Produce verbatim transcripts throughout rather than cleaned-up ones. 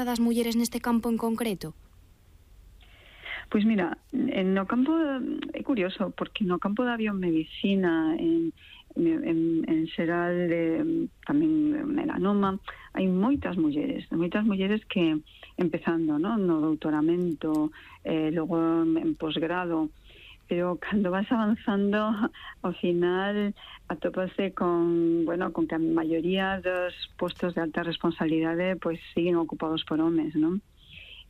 das mulleres neste campo en concreto? Pois mira, no campo é curioso, porque no campo da biomedicina, en, en, en xeral de, tamén melanoma, hai moitas mulleres, moitas mulleres que empezando, ¿no? No doutoramento, eh, logo en posgrado, pero cando vas avanzando, ao final atópase con, bueno, con que a maioría dos postos de alta responsabilidade pois siguen ocupados por homes, ¿no?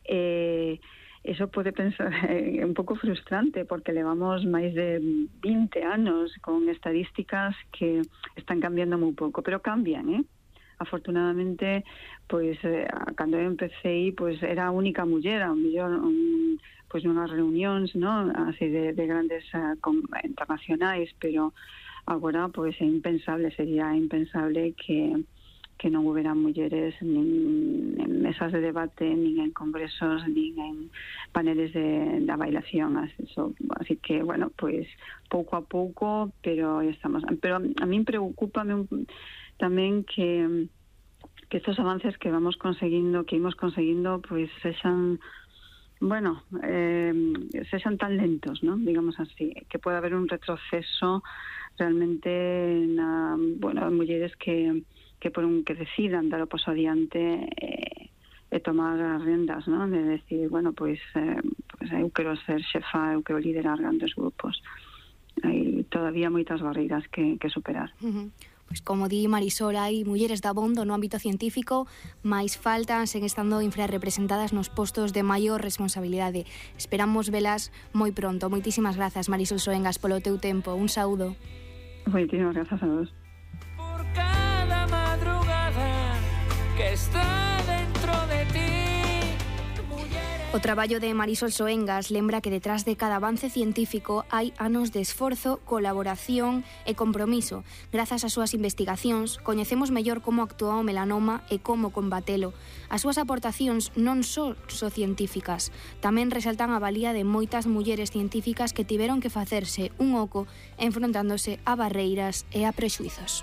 Eh, eso pode pensar é un pouco frustrante, porque levamos máis de vinte anos con estadísticas que están cambiando moi pouco, pero cambian, eh? Afortunadamente, pois, eh, cando eu empecé, pois, era a única muller, a mellor, un, pois, nunhas reunións, ¿no? Así de, de grandes uh, con, internacionais, pero agora, pois, é impensable, sería impensable que que non houbera mulleres nin en mesas de debate, nin en congresos, nin en paneles de, de bailación. Así, so, así que, bueno, pois pouco a pouco, pero estamos. Pero a min preocúpame un, tamén que que estos avances que vamos conseguindo, que imos conseguindo, pois sexan, bueno, eh, sexan tan lentos, ¿no? Digamos así, que pode haber un retroceso realmente na, bueno, mulleres que que por un que decidan dar o paso adiante eh, e tomar as rendas, ¿no? De decir, bueno, pois, eh, pois eu quero ser xefa, eu quero liderar grandes grupos. Hai todavía moitas barreiras que, que superar. Uh-huh. Pois como di Marisol, hai mulleres dabondo no ámbito científico, mais faltan, sen estando infrarrepresentadas nos postos de maior responsabilidade. Esperamos velas moi pronto. Moitísimas grazas, Marisol Soengas, polo teu tempo. Un saúdo. Moitísimas grazas a vos. Que está dentro de ti. O traballo de Marisol Soengas lembra que detrás de cada avance científico hai anos de esforzo, colaboración e compromiso. Grazas ás súas investigacións, coñecemos mellor como actúa o melanoma e como combatelo. As súas aportacións non só son científicas, tamén resaltan a valía de moitas mulleres científicas que tiveron que facerse un oco enfrontándose a barreiras e a prexuizos.